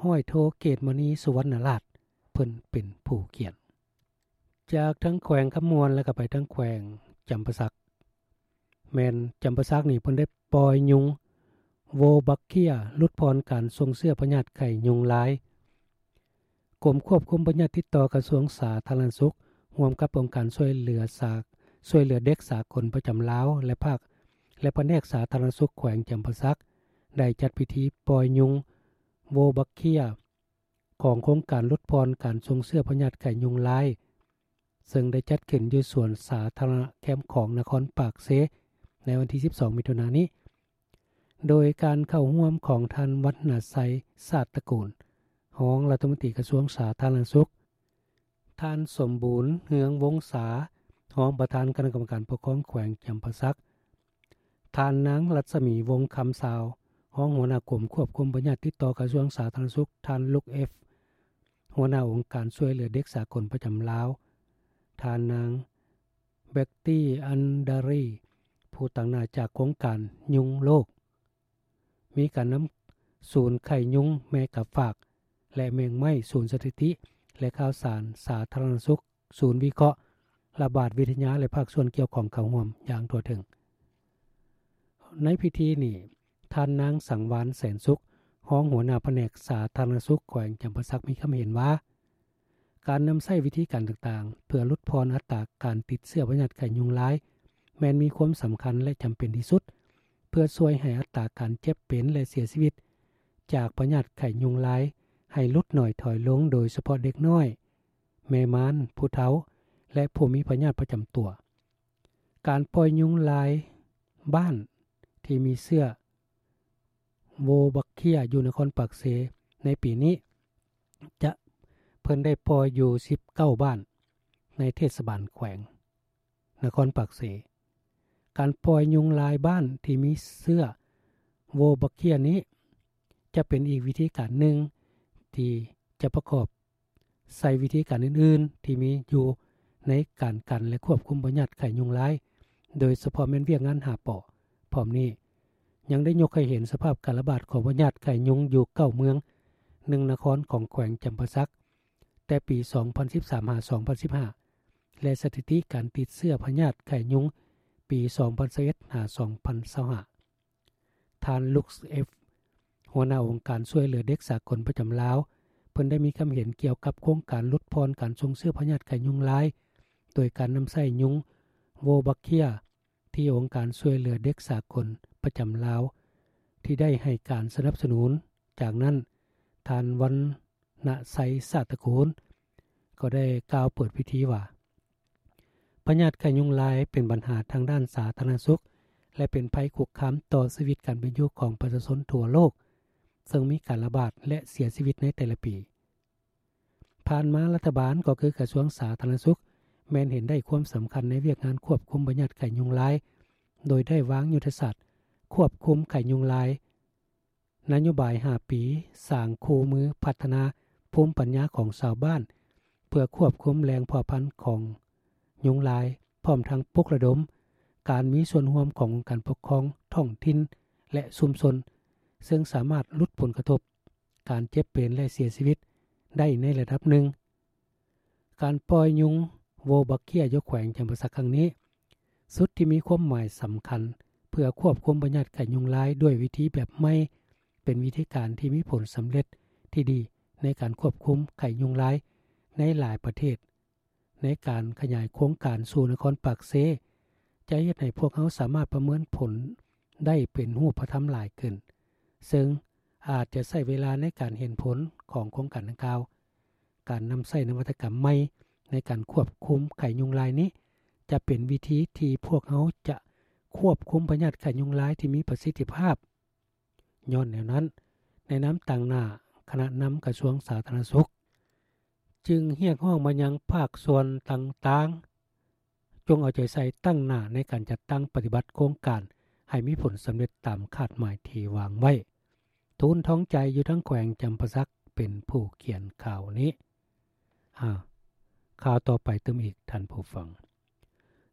ຮ້ອຍໂທ ເກດມະນີ ສຸວັນນະລາດ ເພິ່ນເປັນຜູ້ຂຽນ. ຈາກທາງແຂວງຄຳມ່ວນ ແລ້ວກໍໄປທາງແຂວງຈຳປາສັກ. ແມ່ນຈຳປາສັກນີ້ ເພິ່ນໄດ້ປ່ອຍຍຸງໂວບັກເຄຍ ຫຼຸດຜ່ອນການສົ່ງເຊື້ອພະຍາດໄຂ້ຍຸງລາຍ. ກົມຄວບຄຸມພະຍາດຕິດຕໍ່ ກະຊວງສາທາລະນະສຸກ ຮ່ວມກັບອົງການຊ່ວຍເຫຼືອສາ ຊ່ວຍເຫຼືອເດັກສາກົນປະຈຳລາວ ແລະ ພາກ ແລະ ພະແນກສາທາລະນະສຸກແຂວງຈຳປາສັກ ໄດ້ຈັດພິທີປ່ອຍຍຸງໂວບັກເຄຍ ຂອງໂຄງການຫຼຸດຜ່ອນການສົ່ງເຊື້ອພະຍາດໄຂ້ຍຸງລາຍ ເຊິ່ງໄດ້ຈັດຂຶ້ນຢູ່ສວນສາທາລະນະແຄມຂອງນະຄອນປາກເຊ ໃນວັນທີສິບສອງ ມິຖຸນານີ້ ໂດຍການເຂົ້າຮ່ວມຂອງທ່ານ ວັນນະໄຊ ຊາດຕະກູນ ຮອງລັດຖະມົນຕີກະຊວງສາທາລະນະສຸກ, ທ່ານ ສົມບູນ ເຮືອງວົງສາ ຮອງປະທານຄະນະກຳມະການປົກຄອງແຂວງຈຳປາສັກ, ທ່ານນາງ ລັດສະໝີ ວົງຄຳຊາວ ຮອງຫົວໜ້າກົມຄວບຄຸມພະຍາດຕິດຕໍ່ກະຊວງສາທາລະນະສຸກ, ທ່ານ ລຸກ ເອັຟ ຫົວໜ້າອົງການຊ່ວຍເຫຼືອເດັກສາກົນປະຈຳລາວ, ທ່ານນາງ ເບັກຕີ ອັນດາຣີ ຜູ້ຕາງໜ້າຈາກໂຄງການຍຸງໂລກ. ມີການນຳສູນໄຂ້ຍຸງແມ່ກາຝາກ ແລະ ແມງໄມ້, ສູນສະຖິຕິ ແລະ ຂ່າວສານສາທາລະນະສຸກ, ສູນວິເຄາະລະບາດວິທະຍາ ແລະ ພາກສ່ວນກ່ຽວຂ້ອງເຂົ້າຮ່ວມຢ່າງທົ່ວເຖິງ. ໃນພິທີນີ້, ທ່ານນາງ ສັງວານ ແສນສຸກ ຮອງຫົວໜ້າພະແນກສາທາລະນະສຸກແຂວງຈຳປາສັກ ມີຄຳເຫັນວ່າ ການນຳໃຊ້ວິທີການຕ່າງໆ ເພື່ອຫຼຸດຜ່ອນອັດຕາການຕິດເຊື້ອພະຍາດໄຂ້ຍຸງລາຍ ແມ່ນມີຄວາມສຳຄັນ ແລະ ຈຳເປັນທີ່ສຸດ ເພື່ອຊ່ວຍໃຫ້ອັດຕາການເຈັບເປັນ ແລະ ເສຍຊີວິດຈາກພະຍາດໄຂ້ຍຸງລາຍ ໃຫ້ຫຼຸດໜ້ອຍຖອຍລົງ, ໂດຍສະເພາະເດັກນ້ອຍ, ແມ່ມານ, ຜູ້ເຖົ້າ ແລະ ຜູ້ມີພະຍາດປະຈຳຕົວ. ການປ່ອຍຍຸງລາຍບ້ານທີ່ມີເຊື້ອໂວບັກເຄຍ ຢູ່ນະຄອນປາກເຊ ໃນປີນີ້ ຈະ ເພິ່ນໄດ້ປ່ອຍຢູ່ສິບເກົ້າບ້ານ ໃນເທດສະບານແຂວງນະຄອນປາກເຊ. ການປ່ອຍຍຸງລາຍບ້ານທີ່ມີເຊື້ອໂວບັກເຄຍນີ້ ຈະເປັນອີກວິທີການໜຶ່ງ ທີ່ຈະປະກອບໃສ່ວິທີການອື່ນໆ ທີ່ມີຢູ່ໃນການກັນ ແລະ ຄວບຄຸມພະຍາດໄຂ້ຍຸງລາຍ, ໂດຍສະເພາະແມ່ນວຽກງານຫ້າ ປ. ພ້ອມນີ້ ຍັງໄດ້ຍົກໃຫ້ເຫັນສະພາບການລະບາດຂອງພະຍາດໄຂ້ຍຸງຢູ່ເກົ້າເມືອງ, ໜຶ່ງນະຄອນຂອງແຂວງຈຳປາສັກ ແຕ່ປີສອງພັນສິບສາມ ຫາ ສອງພັນສິບຫ້າ ແລະ ສະຖິຕິການຕິດເຊື້ອພະຍາດໄຂ້ຍຸງປີສອງພັນຊາວເອັດ ຫາ ສອງພັນຊາວຫ້າ. ທ່ານ ລຸກ ເອັຟ ຫົວໜ້າອົງການຊ່ວຍເຫຼືອເດັກສາກົນປະຈຳລາວ ເພິ່ນໄດ້ມີຄຳເຫັນກ່ຽວກັບໂຄງການຫຼຸດຜ່ອນການສົ່ງເຊື້ອພະຍາດໄຂ້ຍຸງລາຍ ໂດຍການນຳໃຊ້ຍຸງໂວບັກເຄຍ ທີ່ອົງການຊ່ວຍເຫຼືອເດັກສາກົນປະຈຳລາວ ທີ່ໄດ້ໃຫ້ການສະໜັບສະໜູນ. ຈາກນັ້ນ, ທ່ານ ວັນນະໄຊ ຊາດຕະກູນ ກໍໄດ້ກ່າວເປີດພິທີວ່າ ພະຍາດໄຂ້ຍຸງລາຍເປັນບັນຫາທາງດ້ານສາທາລະນະສຸກ ແລະ ເປັນໄພຄຸກຄາມຕໍ່ຊີວິດການເປັນຢູ່ຂອງປະຊາຊົນທົ່ວໂລກ, ເຊິ່ງມີການລະບາດ ແລະ ເສຍຊີວິດໃນແຕ່ລະປີ. ຜ່ານມາລັດຖະບານ ກໍຄືກະຊວງສາທາລະນະສຸກ ແມ່ນເຫັນໄດ້ຄວາມສຳຄັນໃນວຽກງານຄວບຄຸມພະຍາດໄຂ້ຍຸງລາຍ, ໂດຍໄດ້ວາງຍຸດທະສາດຄວບຄຸມໄຂ້ຍຸງລາຍ, ນະໂຍບາຍຫ້າປີ, ສ້າງຄູ່ມື, ພັດທະນາພູມປັນຍາຂອງຊາວບ້ານ ເພື່ອຄວບຄຸມແຫຼ່ງເພາະພັນຂອງຍຸງລາຍ, ພ້ອມທັງປຸກລະດົມການມີສ່ວນຮ່ວມຂອງອົງການປົກຄອງທ້ອງຖິ່ນ ແລະ ຊຸມຊົນ, ເຊິ່ງສາມາດຫຼຸດຜົນກະທົບ ການເຈັບເປັນ ແລະ ເສຍຊີວິດໄດ້ໃນລະດັບໜຶ່ງ. ການປ່ອຍຍຸງໂວບັກເຄຍຢູ່ແຂວງຈຳປາສັກຄັ້ງນີ້ ສຸດທີ່ມີຄວາມໝາຍສຳຄັນ ເພື່ອຄວບຄຸມພະຍາດໄຂ້ຍຸງລາຍດ້ວຍວິທີແບບໃໝ່ ເປັນວິທີການທີ່ມີຜົນສຳເລັດທີ່ດີໃນການຄວບຄຸມໄຂ້ຍຸງລາຍໃນຫຼາຍປະເທດ. ໃນການຂະຫຍາຍໂຄງການສູ່ນະຄອນປາກເຊ ຈະເຮັດໃຫ້ພວກເຮົາສາມາດປະເມີນຜົນໄດ້ເປັນຮູບປະທຳຫຼາຍຂຶ້ນ, ເຊິ່ງອາດຈະໃຊ້ເວລາໃນການເຫັນຜົນຂອງໂຄງການດັ່ງກ່າວ. ການນຳໃຊ້ນະວັດຕະກຳໃໝ່ໃນການຄວບຄຸມໄຂ້ຍຸງລາຍນີ້ ຈະເປັນວິທີທີ່ພວກເຮົາຈະຄວບຄຸມພະຍາດໄຂ້ຍຸງລາຍທີ່ມີປະສິດທິພາບ. ຍ້ອນແນວນັ້ນ, ໃນນາມຕາງໜ້າຄະນະນຳກະຊວງສາທາລະນະສຸກ ຈຶ່ງຮຽກຮ້ອງມາຍັງພາກສ່ວນຕ່າງໆ ຈົ່ງເອົາໃຈໃສ່ຕັ້ງໜ້າໃນການຈັດຕັ້ງປະຕິບັດໂຄງການໃຫ້ມີຜົນສຳເລັດຕາມຄາດໝາຍທີ່ວາງໄວ້. ທູນ ທອງໃຈ ຢູ່ທາງແຂວງຈຳປາສັກ ເປັນຜູ້ຂຽນຂ່າວນີ້. ອາ, ຂ່າວຕໍ່ໄປຕື່ມອີກ, ທ່ານຜູ້ຟັງ.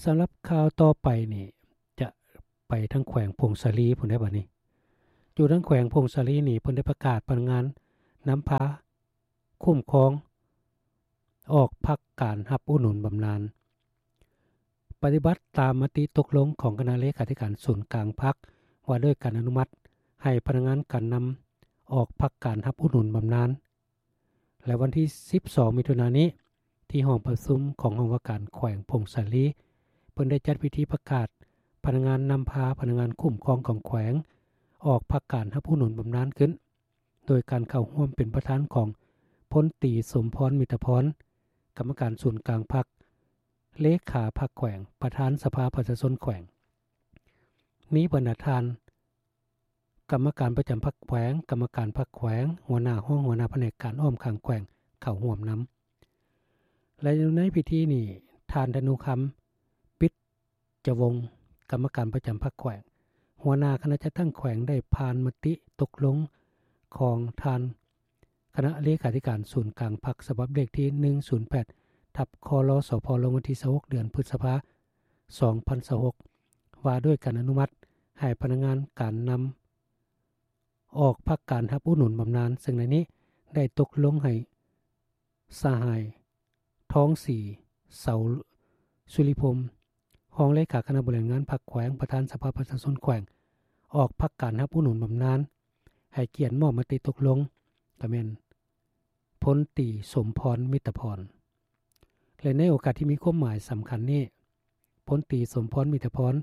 ສຳລັບຂ່າວຕໍ່ໄປນີ້ ຈະໄປທາງແຂວງຜົ້ງສາລີພຸ້ນເດ້ບັດນີ້. ຢູ່ທາງແຂວງຜົ້ງສາລີນີ້ ເພິ່ນໄດ້ປະກາດພະນັກງານ ນຳພາຄຸ້ມຄອງ ອອກພັກການຮັບອຸດໜູນບຳນານ. ປະຕິບັດຕາມມະຕິຕົກລົງຂອງຄະນະເລຂາທິການສູນກາງພັກ ວ່າດ້ວຍການອະນຸມັດໃຫ້ພະນັກງານການນຳອອກພັກການຮັບອຸດໜູນບຳນານ ແລະ ວັນທີສິບສອງ ມິຖຸນານີ້ ທີ່ຫ້ອງປະຊຸມຂອງຫ້ອງວ່າການແຂວງຜົ້ງສາລີ ເພິ່ນໄດ້ຈັດພິທີປະກາດພະນັກງານນຳພາພະນັກງານຄຸ້ມຄອງຂອງແຂວງ ອອກພັກການຮັບອຸດໜູນບຳນານຂຶ້ນ ໂດຍການເຂົ້າຮ່ວມເປັນປະທານຂອງ ພົນຕີ ສົມພອນ ມິດຕະພອນ ກຳມະການສູນກາງພັກ, ເລຂາພັກແຂວງ, ປະທານສະພາປະຊາຊົນແຂວງ, ມີບັນດາທ່ານ ກຳມະການປະຈຳພັກແຂວງ, ກຳມະການພັກແຂວງ, ຫົວໜ້າຫ້ອງ, ຫົວໜ້າພະແນກການອ້ອມຂ້າງແຂວງເຂົ້າຮ່ວມນຳ ແລະ ຢູ່ໃນພິທີນີ້ ທ່ານ ທະນູຄຳ ປິດຈະວົງ ກຳມະການປະຈຳພັກແຂວງ, ຫົວໜ້າຄະນະຈັດຕັ້ງແຂວງ ໄດ້ຜ່ານມະຕິຕົກລົງຂອງທ່ານ ຄະນະເລຂາທິການສູນກາງພັກ ສະບັບເລກທີ ໜຶ່ງສູນແປດ ທັບ ຄລ ສພ ລົງວັນທີ ຊາວຫົກ ເດືອນພຶດສະພາ ສອງພັນຊາວຫົກ ວ່າດ້ວຍການອະນຸມັດໃຫ້ພະນັກງານການນຳອອກພັກການຮັບອຸດໜູນບຳນານ, ເຊິ່ງໃນນີ້ໄດ້ຕົກລົງໃຫ້ສະຫາຍ ທອງສີ ເສົາສຸລິພົມ ຮອງເລຂາຄະນະບໍລິຫານງານພັກແຂວງ, ປະທານສະພາປະຊາຊົນແຂວງ ອອກພັກການຮັບອຸດໜູນບຳນານ, ໃຫ້ກຽດມອບມະຕິຕົກລົງ ກໍແມ່ນ ພົນຕີ ສົມພອນ ມິດຕະພອນ ແລະ ໃນໂອກາດທີ່ມີຄວາມໝາຍສຳຄັນນີ້ ພົນຕີ ສົມພອນ ມິດຕະພອນ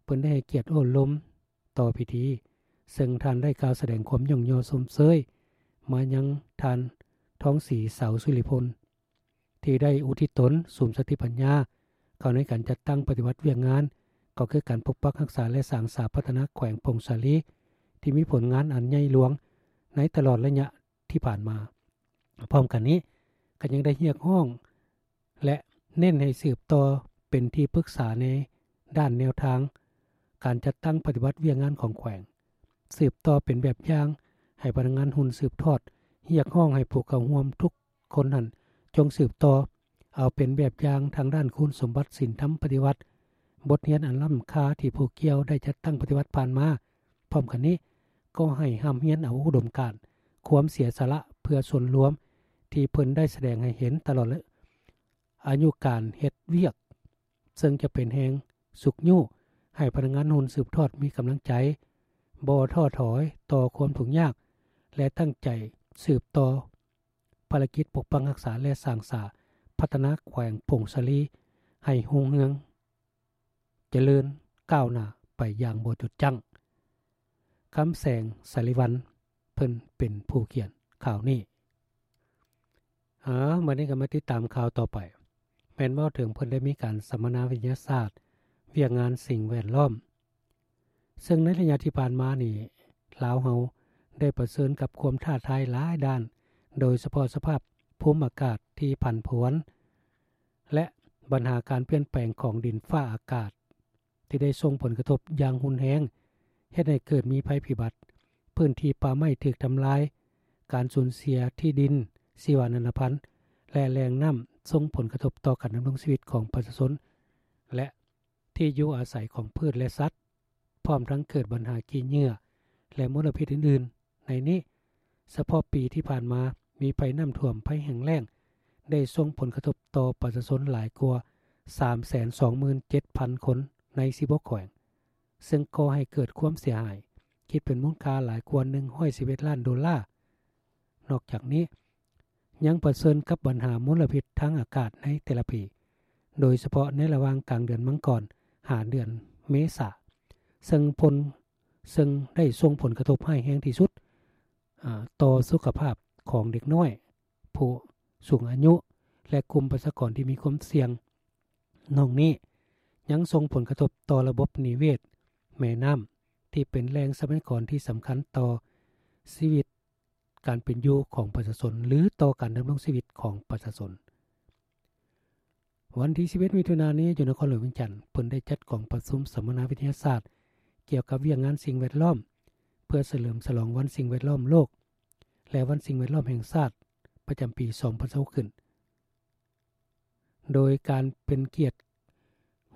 ເພິ່ນໄດ້ໃຫ້ກຽດໂອ້ລົມຕໍ່ພິທີ, ເຊິ່ງທ່ານໄດ້ກ່າວສະແດງຄວາມຍ້ອງຍໍຊົມເຊີຍມາຍັງທ່ານ ທອງສີ ເສົາສຸລິພົມ ທີ່ໄດ້ອຸທິດຕົນ ສຸມສະຕິປັນຍາ ເຂົ້າໃນການຈັດຕັ້ງປະຕິບັດວຽກງານ ກໍຄືການປົກປັກຮັກສາ ແລະ ສ້າງສາພັດທະນາແຂວງຜົ້ງສາລີ ທີ່ມີຜົນງານອັນໃຫຍ່ຫຼວງໃນຕະຫຼອດໄລຍະທີ່ຜ່ານມາ. ພ້ອມກັນນີ້ ກໍຍັງໄດ້ຮຽກຮ້ອງ ແລະ ເນັ້ນໃຫ້ສືບຕໍ່ເປັນທີ່ປຶກສາໃນດ້ານແນວທາງການຈັດຕັ້ງປະຕິບັດວຽກງານຂອງແຂວງ, ສືບຕໍ່ເປັນແບບຢ່າງໃຫ້ພະນັກງານຮຸ່ນສືບທອດ, ຮຽກຮ້ອງໃຫ້ຜູ້ເຂົ້າຮ່ວມທຸກຄົນຫັ້ນ ຈົ່ງສືບຕໍ່ເອົາເປັນແບບຢ່າງທາງດ້ານຄຸນສົມບັດສິນທຳປະຕິວັດ, ບົດຮຽນອັນລ້ຳຄ່າທີ່ຜູ້ກ່ຽວໄດ້ຈັດຕັ້ງປະຕິບັດຜ່ານມາ. ພ້ອມກັນນີ້ ກໍໃຫ້ຮ່ຳຮຽນເອົາອຸດົມການ, ຄວາມເສຍສະຫຼະເພື່ອສ່ວນລວມທີ່ເພິ່ນໄດ້ສະແດງໃຫ້ເຫັນຕະຫຼອດອາຍຸການເຮັດວຽກ, ເຊິ່ງຈະເປັນແຮງຊຸກຍູ້ໃຫ້ພະນັກງານຮຸ່ນສືບທອດມີກຳລັງໃຈ, ບໍ່ທໍ້ຖອຍຕໍ່ຄວາມທຸກຍາກ ແລະ ຕັ້ງໃຈສືບຕໍ່ ພາລະກິດປົກປັກຮັກສາ ແລະ ສ້າງສາພັດທະນາແຂວງຜົ້ງສາລີໃຫ້ຮຸ່ງເຮືອງຈະເລີນກ້າວໜ້າໄປຢ່າງບໍ່ຢຸດຢັ້ງ. ຄຳແສງ ສາລີວັນ ເພິ່ນເປັນຜູ້ຂຽນຂ່າວນີ້. ເອົາ ບັດນີ້ກໍມາຕິດຕາມຂ່າວຕໍ່ໄປ, ແມ່ນເວົ້າເຖິງເພິ່ນໄດ້ມີການສຳມະນາວິທະຍາສາດວຽກງານສິ່ງແວດລ້ອມ. ເຊິ່ງໃນໄລຍະທີ່ຜ່ານມານີ້ ລາວເຮົາໄດ້ປະເຊີນກັບຄວາມທ້າທາຍຫຼາຍດ້ານ, ໂດຍສະເພາະສະພາບພູມອາກາດທີ່ຜັນຜວນ ແລະ ບັນຫາການປ່ຽນແປງຂອງດິນຟ້າອາກາດ ທີ່ໄດ້ສົ່ງຜົນກະທົບຢ່າງຮຸນແຮງ, ເຮັດໃຫ້ເກີດມີໄພພິບັດ, ພື້ນທີ່ປ່າໄມ້ຖືກທຳລາຍ, ການສູນເສຍທີ່ດິນ, ຊີວະນານາພັນ ແລະ ແຫຼ່ງນ້ຳ, ສົ່ງຜົນກະທົບຕໍ່ການດຳລົງຊີວິດຂອງປະຊາຊົນ ແລະ ທີ່ຢູ່ອາໄສຂອງພືດ ແລະ ສັດ, ພ້ອມທັງເກີດບັນຫາຂີ້ເຫຍື້ອ ແລະ ມົນລະພິດອື່ນໆ. ໃນນີ້, ສະເພາະປີທີ່ຜ່ານມາ, ມີໄພນ້ຳຖ້ວມ, ໄພແຫ້ງແລ້ງ ໄດ້ສົ່ງຜົນກະທົບຕໍ່ປະຊາຊົນຫຼາຍກວ່າສາມແສນສອງໝື່ນເຈັດພັນຄົນໃນສິບຫົກແຂວງ, ເຊິ່ງກໍ່ໃຫ້ເກີດຄວາມເສຍຫາຍ ຄິດເປັນມູນຄ່າຫຼາຍກວ່າໜຶ່ງຮ້ອຍສິບເອັດລ້ານໂດລາ. ນອກຈາກນີ້ ຍັງປະເຊີນກັບບັນຫາມົນລະພິດທາງອາກາດໃນແຕ່ລະປີ, ໂດຍສະເພາະໃນລະຫວ່າງກາງເດືອນມັງກອນຫາເດືອນເມສາ, ເຊິ່ງຜົນ, ເຊິ່ງໄດ້ສົ່ງຜົນກະທົບຮ້າຍແຮງທີ່ສຸດ, ອາ, ຕໍ່ສຸຂະພາບຂອງເດັກນ້ອຍ, ຜູ້ສູງອາຍຸ ແລະ ກຸ່ມປະຊາກອນທີ່ມີຄວາມສ່ຽງ. ນອກນີ້ ຍັງສົ່ງຜົນກະທົບຕໍ່ລະບົບນິເວດແມ່ນ້ຳ ທີ່ເປັນແຫຼ່ງຊັບພະຍາກອນທີ່ສຳຄັນຕໍ່ຊີວິດ ການເປັນຢູ່ຂອງປະຊາຊົນ ຫຼື ຕໍ່ການດຳລົງຊີວິດຂອງປະຊາຊົນ. ວັນທີສິບເອັດ ມິຖຸນານີ້ ຢູ່ນະຄອນຫຼວງວຽງຈັນ ເພິ່ນໄດ້ຈັດກອງປະຊຸມສຳມະນາວິທະຍາສາດກ່ຽວກັບວຽກງານສິ່ງແວດລ້ອມ ເພື່ອສະເຫຼີມສະຫຼອງວັນສິ່ງແວດລ້ອມໂລກ ແລະ ວັນສິ່ງແວດລ້ອມແຫ່ງຊາດ ປະຈຳປີສອງພັນຊາວຫົກ ຂຶ້ນ. ໂດຍການເປັນກຽດ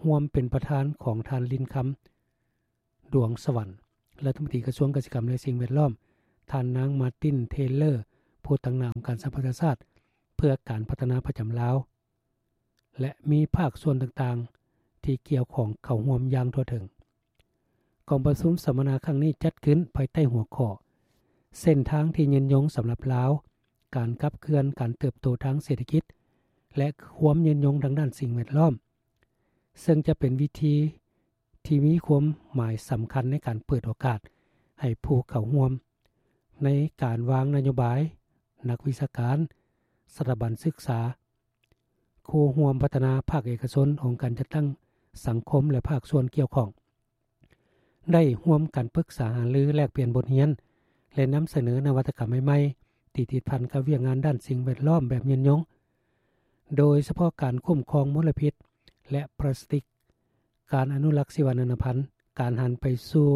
ຮ່ວມເປັນປະທານຂອງທ່ານ ລິນຄຳ ດວງສະຫວັນ ລັດຖະມົນຕີກະຊວງກະສິກຳ ແລະ ສິ່ງແວດລ້ອມ, ທ່ານນາງ ມາຕິນ ເທເລີ ຜູ້ຕາງໜ້າອົງການສະຫະປະຊາຊາດ ເພື່ອການພັດທະນາປະຈຳລາວ ແລະ ມີພາກສ່ວນຕ່າງໆ ທີ່ກ່ຽວຂ້ອງເຂົ້າຮ່ວມຢ່າງທົ່ວເຖິງ. ກອງປະຊຸມສຳມະນາຄັ້ງນີ້ຈັດຂຶ້ນພາຍໃຕ້ຫົວຂໍ້ ເສັ້ນທາງທີ່ຍືນຍົງສຳລັບລາວ, ການຂັບເຄື່ອນການເຕີບໂຕທາງເສດຖະກິດ ແລະ ຄວາມຍືນຍົງທາງດ້ານສິ່ງແວດລ້ອມ, ເຊິ່ງຈະເປັນເວທີທີ່ມີຄວາມໝາຍສຳຄັນໃນການເປີດໂອກາດໃຫ້ຜູ້ເຂົ້າຮ່ວມໃນການວາງນະໂຍບາຍ, ນັກວິຊາການ, ສະຖາບັນສຶກສາ, ຄູ່ຮ່ວມພັດທະນາ, ພາກເອກະຊົນ, ອົງການຈັດຕັ້ງສັງຄົມ ແລະ ພາກສ່ວນກ່ຽວຂ້ອງ ໄດ້ຮ່ວມກັນປຶກສາຫາລື, ແລກປ່ຽນບົດຮຽນ ແລະ ນຳສະເໜີນະວັດຕະກຳໃໝ່ໆ ທີ່ຕິດພັນກັບວຽກງານດ້ານສິ່ງແວດລ້ອມແບບຍືນຍົງ, ໂດຍສະເພາະການຄຸ້ມຄອງມົນລະພິດ ແລະ ປລາສຕິກ, ການອະນຸລັກຊີວະນານາພັນ, ການຫັນໄປສູ່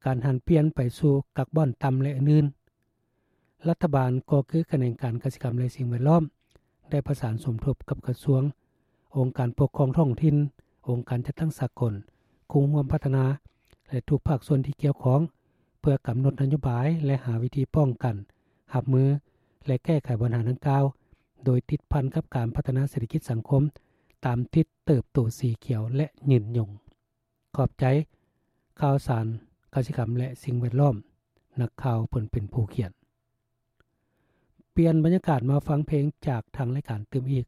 ການຫັນປ່ຽນໄປສູ່ກາບອນຕ່ຳ ແລະ ອື່ນໆ. ລັດຖະບານກໍຄືຂະແໜງການກະສິກຳ ແລະ ສິ່ງແວດລ້ອມ ໄດ້ປະສານສົມທົບກັບກະຊວງ, ອົງການປົກຄອງທ້ອງຖິ່ນ, ອົງການຈັດຕັ້ງສາກົນ, ຄູ່ຮ່ວມພັດທະນາ ແລະ ທຸກພາກສ່ວນທີ່ກ່ຽວຂ້ອງ ເພື່ອກຳນົດນະໂຍບາຍ ແລະ ຫາວິທີປ້ອງກັນ, ຮັບມື ແລະ ແກ້ໄຂບັນຫາດັ່ງກ່າວ ໂດຍຕິດພັນກັບການພັດທະນາເສດຖະກິດສັງຄົມ ຕາມທິດເຕີບໂຕສີຂຽວ ແລະ ຍືນຍົງ. ຂອບໃຈ. ຂ່າວສານ, ກະສິກຳ ແລະ ສິ່ງແວດລ້ອມ. ນັກຂ່າວເພິ່ນເປັນຜູ້ຂຽນ. ປ່ຽນບັນຍາກາດມາຟັງເພງຈາກທາງລາຍການຕື່ມອີກ,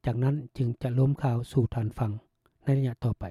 ຈາກນັ້ນຈຶ່ງຈະລົມຂ່າວສູ່ທ່ານຟັງໃນໄລຍະຕໍ່ໄປ.